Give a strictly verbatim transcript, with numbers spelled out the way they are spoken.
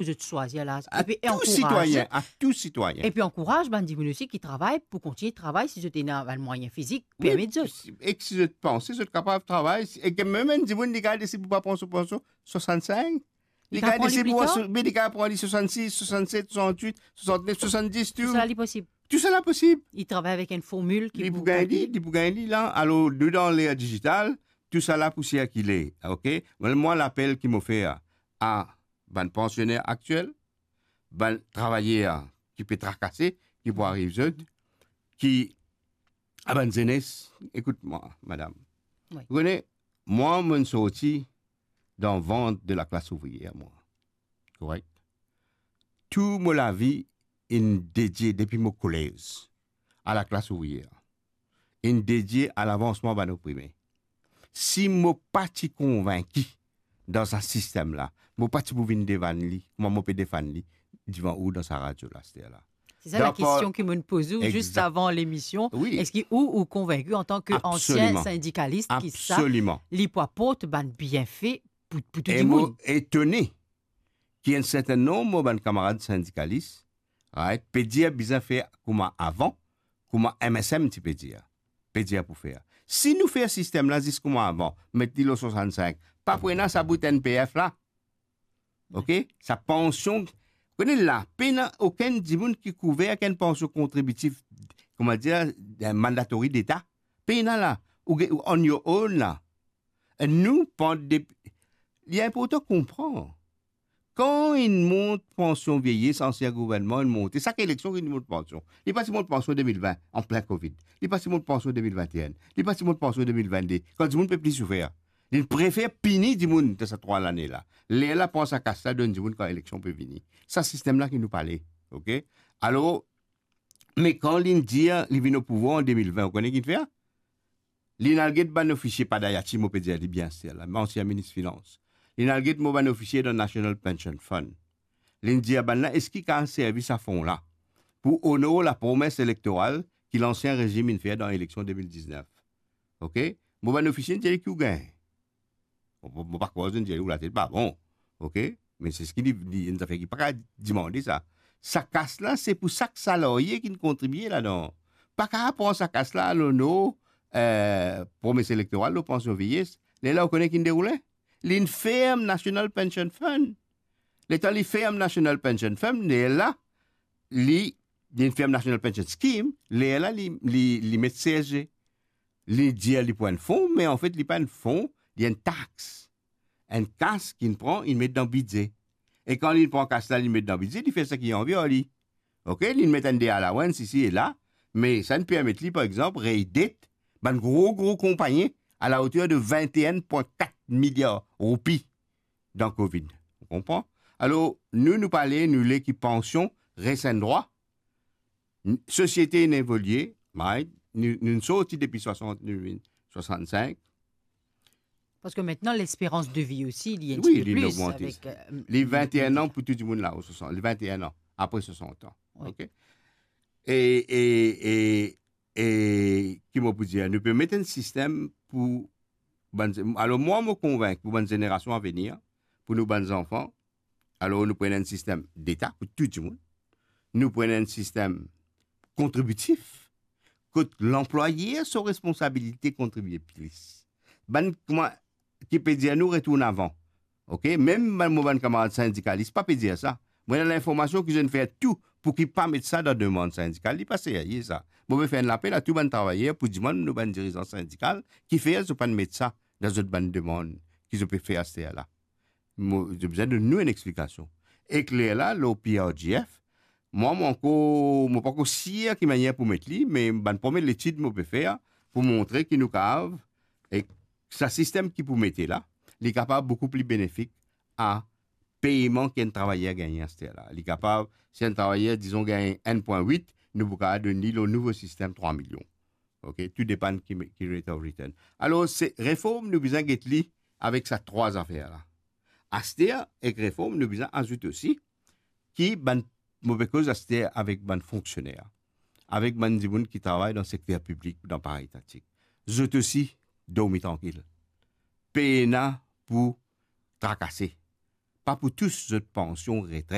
pou zot swazir laz. A tou sitwayin, a tou sitwayin. Epi ankouraz bann dimoun osi ki travay pou kontign travay si zot ena bann mwayin fizik permet zot. E si zot panse zot kapav travay, e ki mem enn dimoun li kapav deside pou pa pran so pansion swasannsenk, li kapav pran li pli tar. Me li kapav pran li swasannsis, swasannset, swasannwit, swasannef, swasanndiz, tou. Tousala li posib. Tousala posib. Li travay avek enn formil ki pou gagn li, li pou gagn li la. Alor, nou dan ler dizital, tousala pou sirkile, ok? Mwa, mwa, lapel ki mo fer a, a bann pansiner aktiel, bann travayer ki pe trakase, ki pou ariv zot, ki, a bann zenes, ekout mwa, madam. Wi. Ou kone, mwa, mo'nn sorti dan vant de laklas ouvriyer, mwa. Korek? Tou mo lavi inn dedie depi mo kolez a laklas ouvriyer, inn dedie a lavansman bann oprime. Si mo pa ti konvinki dan sa sistem la, mo pa ti pou vinn devann li, kouma mo pe defann li devan ou dan sa radio la, aster la. Se sa lakestion ki mo'nn poz ou zis avan lemision. Wi. Eski ou, ou konvinki antan ki ansien sindikalis ki sa, li pou aport bann bienfe pou, pou tou dimoun? Absoliman. E mo etone ki enn serten nonb mo bann kamarad sindikalis, right, pe dir bizin fer kouma avan, kouma M S M ti pe dir, pe dir pou fer. Si nou fer sistem la zis kouma avan, met li lor swasannsenk, pa pou ena sa bout N P F la. Ok? Sa pansion, kone la, pena okenn dimoun ki kouver ek enn pansion kontribitif, kouma dir, mandatory deta. Pena la, ou ge-, ou on your own la. E nou, pandan de-, li inportan konpran. Kan inn mont pansion vieyes, ansien gouvernman inn monte, sak eleksion inn mont pansion. Li pa ti mont pansion de mil vin, an plin Covid. Li pa ti mont pansion de mil vinteen. Li pa ti mont pansion de mil vennde, kan dimoun pe pli soufer. Li prefer pini dimoun dan sa trwa lane la. Lerla pran sa kas la, donn dimoun kan eleksion pe vini. Sa sistem la ki nou pale, ok? Alor, me kan li'nn dir li vinn o pouvwar an de mil vin, ou kone ki'nn fer? Li'nn al get bann ofisie, pa Dayati, mo pe dir li bien sir la, me ansien minis finans. Li'nn al get mo bann ofisie dan National Pension Fund. Li'nn dir bann la, eski kapav servi sa fon la pou onor lapromes elektoral ki lansien rezim inn fer dan eleksion de mil diznef? Ok? Mo bann ofisie inn dir li ki ou gagn. Mo, mo, mo pa krwar zot inn dir li ou latet pa bon. Ok? Me se seki li, li, enn zafer ki pa kapav dimande sa. Sa kas la, se pou sak salarye ki'nn kontribie ladan. Pa kapav pran sa kas la, al onor, eh, promes elektoral, lor pansion vieyes. Lerla ou kone ki'nn deroule? Li'nn ferm National Pension Fund. Letan li ferm National Pension Fund, lerla, li, li'nn ferm National Pension Scheme, lerla li, li, li met C S G. Li dir li pou enn fon, me anfet li pa enn fon, li enn tax. Enn kas ki'nn pran, inn met dan bidze. E kan li'nn pran kas la, li'nn met dan bidze, li fer seki li anvi ar li. Ok, li'nn met enn de allowance isi e la, me sa'nn permet li, par exanp, rey det bann gro, gro konpagni a laoter de vinte et un point quatre milliards roupi dan Covid. Ou konpran? Alor, nou, nou pale, nou le ki pansion res enn drwa. N-, sosiete inn evolie, right? Nou, nou sorti depi swasant, nou vinn swasannsenk. Parski aster lesperans de vi osi, li enn tipe plis, li inn ogmante. Avek, eh, li vinte et un an pou tou dimoun la, o swasant, li vinte et un an, apre swasant an. Wi. Ok? E, e, e, e, ki mo pou dir, nou pe met enn sistem pou bann, alor mwa, mo konvink pou bann zenerasion avenir, pou nou bann zanfan, alor nou pran enn sistem deta pou tou dimoun. Nou pran enn sistem kontribitif, kot lanplwayer so responsabilite kontribie plis. Bann, kouma, ki pe dir nou retourn avan. Ok? Mem bann, mo bann kamarad sindikalis pa pe dir sa. Mo ena linformasion ki zot inn fer tou pou ki pa met sa dan demann sindikal. Li pa serye sa. Mo pe fer enn lapel a tou bann travayer pou dimann nou bann dirizan sindikal kifer zot pa'nn met sa dan zot bann demann ki zot pe fer aster la. Mo, zot bizin donn nou enn explikasion. Ek lerla, lor P R G F, mwa, mo ankor, mo pa ankor sir ki manier pou met li, me bann premie letid mo pe fer pou montre ki nou kapav, ek sa sistem ki pou mete la, li kapav boukou pli benefik a peyman ki enn travayer gagne aster la. Li kapav, si enn travayer, dizon, gagne enn pwin wit, nou pou kapav donn li lor nouvo sistem trwa milion. Ok, tou depann ki, ki rate of return. Alor, se reform nou bizin get li avek sa trwa zafer la. Aster, ek reform, nou bizin azout osi ki bann, mo pe koz aster avek bann fonksioner, avek bann dimoun ki travay dan sekter piblik, dan paraetatik. Zot osi, dormi trankil. Pena pou trakase. Pa pou tous zot pansion, retret.